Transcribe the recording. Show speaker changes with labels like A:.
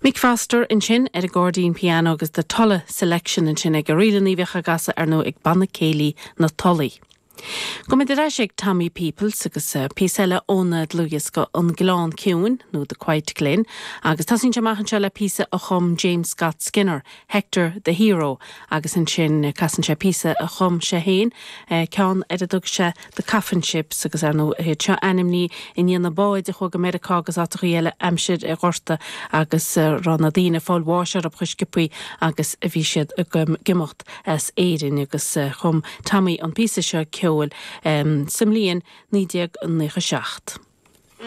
A: Mick Foster ansin ar an gcairdín pianó agus The Tulla Selection ansin aige, ríleanna a bhíodh á gcasadh ar ndóigh ag Banna Céilí na Tulaí. Gabhfaimid ar ais ag Tommy Peoples agus píosa eile óna dlúthdhiosca An Gleann Ciúin nó The Quiet Glen agus tosaíonn sé amach anseo le píosa a chum James Scott Skinner, Hector the Hero agus ansin casann sé píosa a chum sé féin, ceann ar a dtug sé The Coffin Ships agus ar ndóigh iad seo ainmnithe i ndiaidh na báid a chuaigh go Meiriceá agus áiteachaí eile aimsir an Ghorta agus a raibh na daoine ag fáil bháis orthu chomh sciobthaí agus a bhí siad ag imeacht as Éirinn agus chum Tommy an píosa seo ceoil sa mbliain 1997.